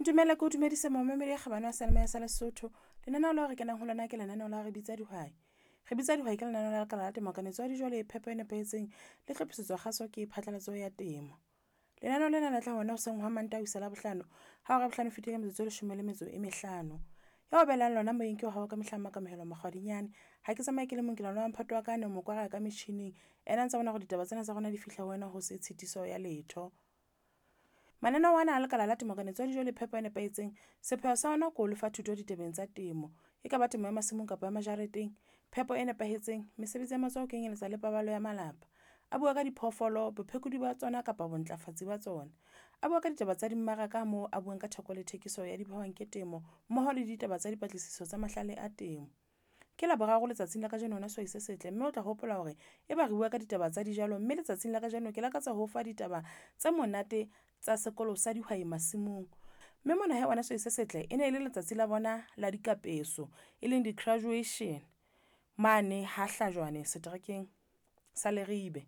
Ntumelle ke o dumedise momamedi ya kgabane wa seyalemoya sa Lesotho. Lenaneo leo re kenang ho lona ke lenaneo la Re Bitsa Dihwai. Re Bitsa Dihwai ke lenaneo la lekala la temo, kanetso ya dijo le phepo e nepahetseng le hlophisetswa kgaso ke phatlalatso ya temo. Lenaneo lena le tla ho wena hoseng hwa Mantaha ho isa Labohlano ha hora ya bohlano e fetile ka metsotso e leshome le metso e mehlano. Ya o behelang lona moyeng ke wa hao ka mehla Makamohelo Makgwadinyane. Ha ke tsamaye ke le mong, ke na le wa mphato wa ka a neng mokwara ka metjhining. Ena a ntsa bona hore ditaba tsena tsa rona di fihla ho wena ho se tshitiso ya letho. Mananeo ana a lekala la temo kanetso ya dijo le phepo e nepahetseng, sepheo sa ona ke ho lefa thuto ditabeng tsa temo. E ka ba temo ya masimong kapa ya majareteng, phepo e nepahetseng, mesebetsi ya matsoho ho kenyeletsa le paballo ya malapa. A bua ka diphoofolo, bophekodi ba tsona kapa bontlafatsi ba tsona. A bua ka ditaba tsa dimmaraka moo a buang ka theko le thekiso ya diphehwang ke temo mmoho le ditaba tsa dipatlisiso tsa mahlale a temo. Ke Laboraro letsatsing la kajeno wena sehwai se setle, mme o tla hopola hore e ba re bua ka ditaba tsa dijalo, mme letsatsing la kajeno ke lakatsa ho fa ditaba tse monate tsa sekolo sa dihwai masimong. Mme mona hee wena sehwai se setle, e ne e le letsatsi la bona la dikapeso e leng di-graduation mane ha Hlajwane seterekeng sa Leribe.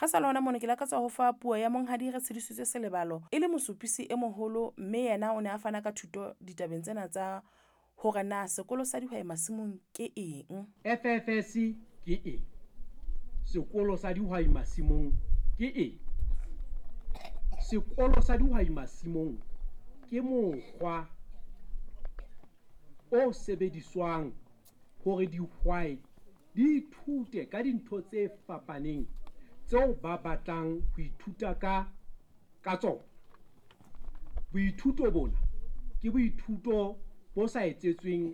Re sa le hona mono ke lakatsa ho fa puo ya Monghadi Retshidisitswe Selebalo e le mosupisi e moholo, mme yena o ne a fana ka thuto ditabeng tsena tsa hore na sekolo sa dihwai masimong ke eng. FFS ke eng? Sekolo sa dihwai masimong ke eng? Sekolo sa dihwai masimong ke mokgwa o sebediswang hore dihwai di ithute ka dintho tse fapaneng tseo ba batlang ho ithuta ka ka tsona. Boithuto bona ke boithuto bo sa etsetsweng